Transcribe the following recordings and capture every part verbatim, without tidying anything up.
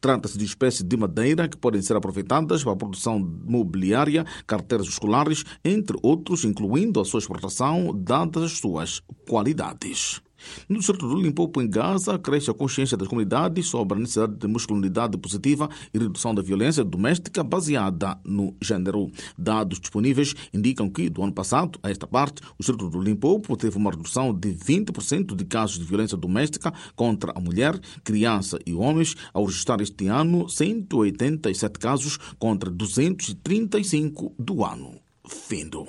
Trata-se de espécies de madeira que podem ser aproveitadas para a produção mobiliária, carteiras escolares, entre outros, incluindo a sua exportação, dadas as suas qualidades. No distrito do Limpopo, em Gaza, cresce a consciência das comunidades sobre a necessidade de masculinidade positiva e redução da violência doméstica baseada no género. Dados disponíveis indicam que, do ano passado a esta parte, o distrito do Limpopo teve uma redução de vinte por cento de casos de violência doméstica contra a mulher, criança e homens, ao registrar este ano cento e oitenta e sete casos contra duzentos e trinta e cinco do ano findo.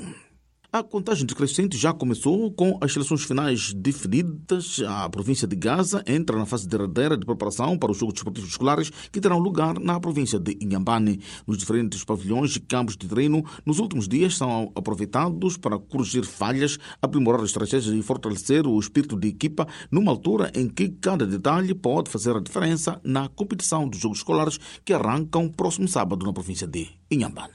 A contagem decrescente já começou com as seleções finais definidas. A província de Gaza entra na fase derradeira de preparação para os Jogos Desportivos Escolares que terão lugar na província de Inhambane. Nos diferentes pavilhões e campos de treino, nos últimos dias são aproveitados para corrigir falhas, aprimorar estratégias e fortalecer o espírito de equipa numa altura em que cada detalhe pode fazer a diferença na competição dos Jogos Escolares que arrancam próximo sábado na província de Inhambane.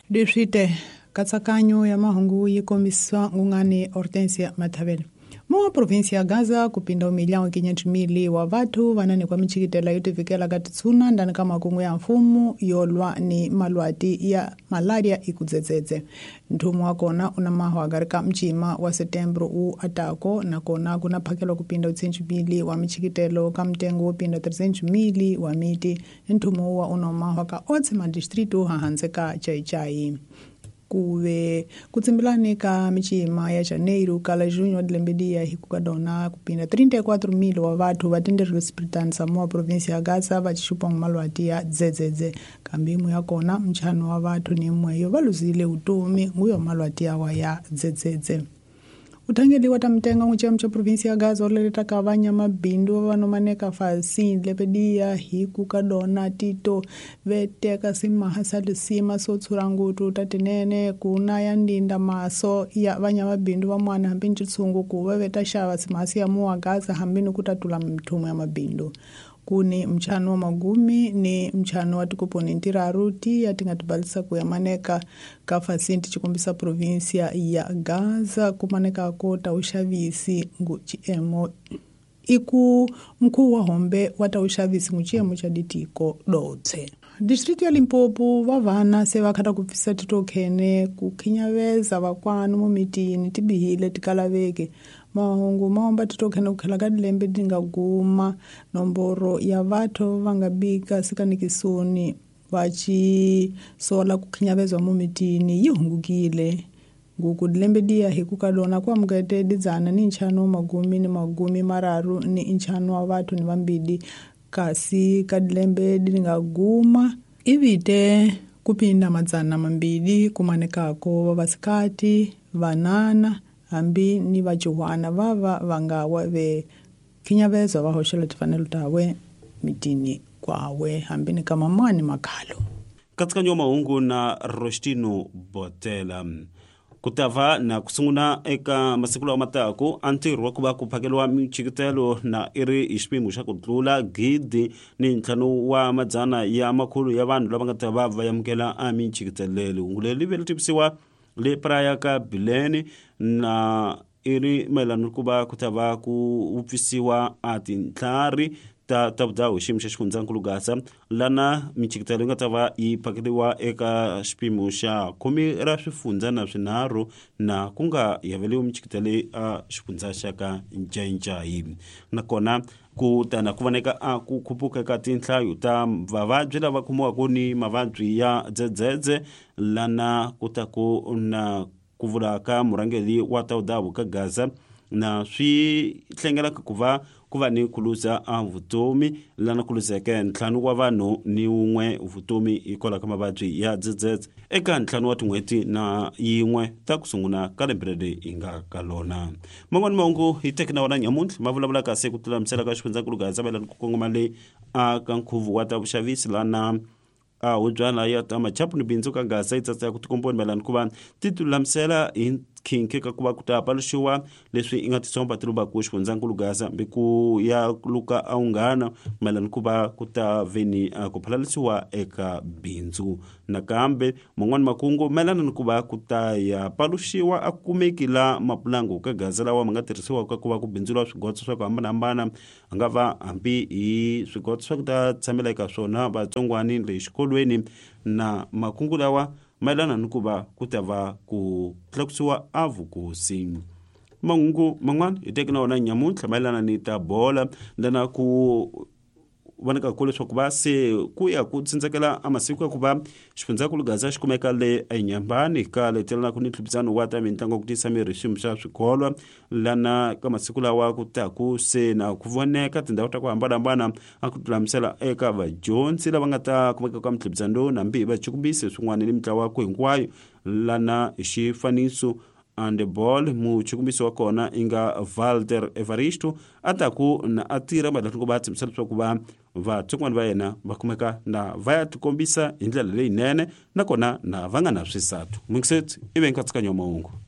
Katsakanyo ya mahungu yi kombisa ngungani Hortensia Mathavela. Mwa província ya Gaza kupinda umilhão quinhentos mil wa vathu vanani kwa michikitela yo tivikela ka titsuna ndani ka makungu ya mfumo yo lwa ni malwati ya malaria ikudzedzedze. Nthumu wa kona una mahwa ka mchima wa setembro u atako na kona kuna phakelo kupinda oitocentos mil wa michikitelo ka mtengo wo pinda trezentos mil wa miti. Nthumu wa una mahwa ka otse madistrito hahanse ka Chaichai. Kuve kutsimbilani ka michima ya Janeiro kala junho de lembedia hikukadona kupinda trinta e quatro mil wa vathu vatenderwe sipritani moa província ya Gaza vachixupa malwati ya dzedzedze kambe imwe ya kona mchano wa vathu ni imweyo va luzile utomi nguyo malwati yawa ya dzedzedze. Uthangeliwa ta mtenga n'wichemo cha província ya Gaza oleleta ka vanyamabindu vanomaneka fasi lepedia hiku kadona tito veteka simaha sa lisima so tshura ngutu ta tinene kuna ya ndinda maso ya vanyamabindu van'wana hambi ni tshungu ku va veta xava simahasi ya muwa Gaza hambi ni ku tatula mithumu ya mabindu. Kuni mchano wa magumi ni mchano wa tikoponi ntiraru ti atinga tibalisa kuyamaneka ka fasinti chikombisa província ya Gaza kumaneka kota uxavisi ngu chiemo iku mkuu wa hombe wa uxavisi ngu chiemo cha ditiko dotse. Distrito ya Limpopo vavana se vakhata ku pfisa titokhene ku khinyaveza vakwanu mumitini tibihile tikalaveke mahungu maomba titokhene ku khela ka dilembe tinga guma nomboro ya vathu va nga bika sikanikisoni vachi sola ku khinyaveza mumitini yi hungukile nguku dilembe diya hikukadona kwa mukete didzana ni nchano magumi ni magumi mararu ni nchano wa vathu ni vambili kasi ka dilembe dinga guma ivite kupinda madzana mambili kumanekako vavasikati vanana hambi ni vachuhwana vava vangawa ve kinyavezo va hoxela tifanelo tawe mitini kwawe hambi ni kamamani makhalo. Katsakanyo mahungu na Rostino Botela. Kutava na kusunguna eka masiku lawa matako antirho wa ku va ku phakeliwa michikitelo na iri hi xipimo xa ku tlula gidi ni ntlhanu wa madzana ya makhulu ya vanhu lava nga ta va va amukela a michikitelelo. Hungu leri li vele tivisiwa le praya ka Bilene na iri mayelana ku va ku ta va ku vupfisiwa a tintlhari ta ta vudawu xiyimo xa xifundzankulu Gaza lana michikitelo yi nga ta va yi phakeliwa eka xipimo xa khume ra swifundza na swinharhu na ku nga yaveliwi michikitelo a xifundza xa ka Ncaincayi. Nakona ku tana ku voneka a ku khupuka ka tinhlayo ta vavabyi lava khomiwaka ni mavabyi ya dzedzedze lana ku ta ku na ku vula ka murhangeri wa ta vudawu ka Gaza na swi hlengelaka ku va ku va ni ku luza a vutomi lana ku luzeke ntlhanu wa vanhu ni wun'we vutomi hikwalaho ka mavabyi ya dzedzedze eka ntlhanu wa tin'hweti na yin'we ta ku sungula ka lembe leri hi nga ka lona. Man'wani mahungu hi teki na wona nyamuntlha ma vulavula kasi ku tlulamisela ka xifundzankulu Gaza mayelana ku kongoma le a ka nkhuvo wa ta vuxavisi lana a hubyana ya ta machapu ni bindzu ka Gaza yi tsatsa ku tikomboni mayelana ku va ti tilulamisela hi nkhinkhi ka ku va ku ta paluxiwa leswi i nga tisomba ti lumbaku xifundzankulu Gaza mbi ku ya luka a unghana mayelana ku va ku ta veni ku phalalisiwa eka bindzu. Nakambe man'wani makungu mayelana ni ku va ku ta ya paluxiwa a kumeki la mapulangu ka Gaza lawa ma nga tirhisiwaka ku va ku bindzuriwa swigotso swa ku hambanahambana, a nga va hambi hi swigotso swa ku ta tshamela eka swona vatsongwani le xikolweni, na makungu lawa mayelana ni ku va ku ta va ku tlakusiwa a vukosi. Mahungu man'wana hi teki na wona nyamuntlha mayelana ni ta bola lana ku vonaka ku leswaku va se ku ya ku tsindzekela a masiku ya ku va xifundzankulu Gaza xi kumeka le enyambani ka letelanaku ni ntlhuphisano wa ta mitlangu ku tiyisa miri xiyimo xa swikolo lana ka masiku lawa ku taku se na ku voneka tindhawu ta ku hambanahambana a ku lulamisela eka vadyondzi lava nga ta kumeka ka mintlhuphisano lowu nambi hi vachukumbisi swin'wana ni mitlawa ku hinkwayo lana xifaniso handball. Muchukumbisi wa kona i nga Walter Evaristo a ta ku na a tirha mayelana ku va tshembisa leswaku va vatsongwana va yena va kumeka na va ya tikombisa hi ndlela leyinene nakona na va nga na swisatu. Mungisetsi i ve nkatsakanyo wa mahungu.